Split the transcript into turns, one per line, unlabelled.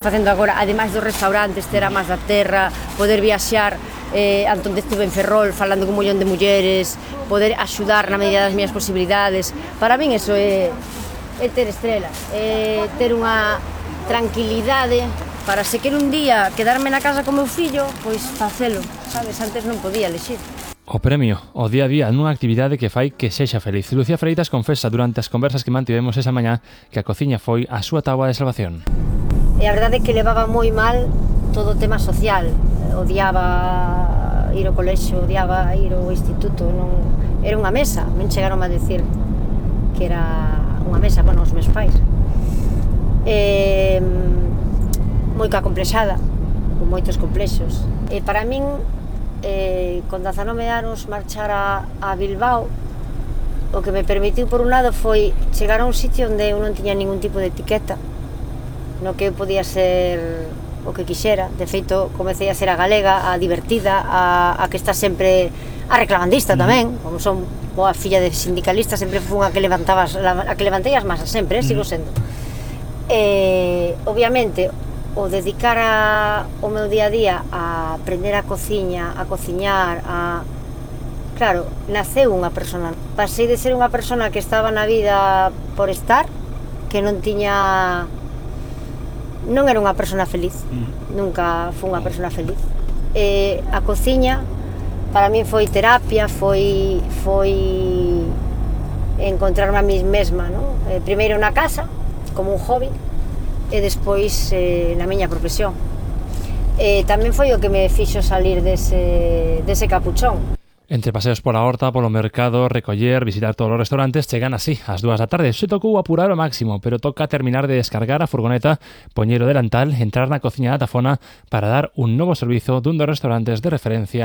Facendo agora, ademais dos restaurantes, ter a máis da terra, poder viaxar onde estive en Ferrol falando con un mollón de mulleres, poder axudar na medida das miñas posibilidades. Para min eso é ter estrelas, é ter unha tranquilidade para se quero un día quedarme na casa con meu fillo, pois facelo, sabes? Antes non podía elexir.
O premio, o día a día nunha actividade que fai que sexa feliz. Lucía Freitas confesa durante as conversas que mantivemos esa mañá que a cociña foi a súa táboa de salvación.
E a verdade é que levaba moi mal todo o tema social. Odiaba ir ao colexio, odiaba ir ao instituto, non era unha mesa, non chegaron a decir que era unha mesa, bueno, os meus pais. Moi complexada, con moitos complexos. E para min, con 19 anos, marchar a Bilbao, o que me permitiu, por un lado, foi chegar a un sitio onde eu non tiña ningún tipo de etiqueta, no que eu podía ser o que quixera. De feito, comecei a ser a galega, a divertida, a que está sempre a reclamandista tamén, como son boa filla de sindicalista, sempre fui a que levantei as masas, sempre, sigo sendo. Obviamente, o dedicar o meu día a día a aprender a cociña, a cociñar, claro, naceu unha persona. Pasei de ser unha persona que estaba na vida por estar, que non era unha persona feliz, nunca fui unha persona feliz. A cociña para min foi terapia, foi encontrarme a mí mesma, non? Primeiro na casa, como un hobby, e despois na miña profesión. Tamén foi o que me fixo salir dese capuchón.
Entre paseos pola horta, polo mercado, recoller, visitar todos os restaurantes, chegan así, ás 2 da tarde. Se tocou apurar o máximo, pero toca terminar de descargar a furgoneta, poñer o delantal, entrar na cociña da Tafona para dar un novo servizo dun dos restaurantes de referencia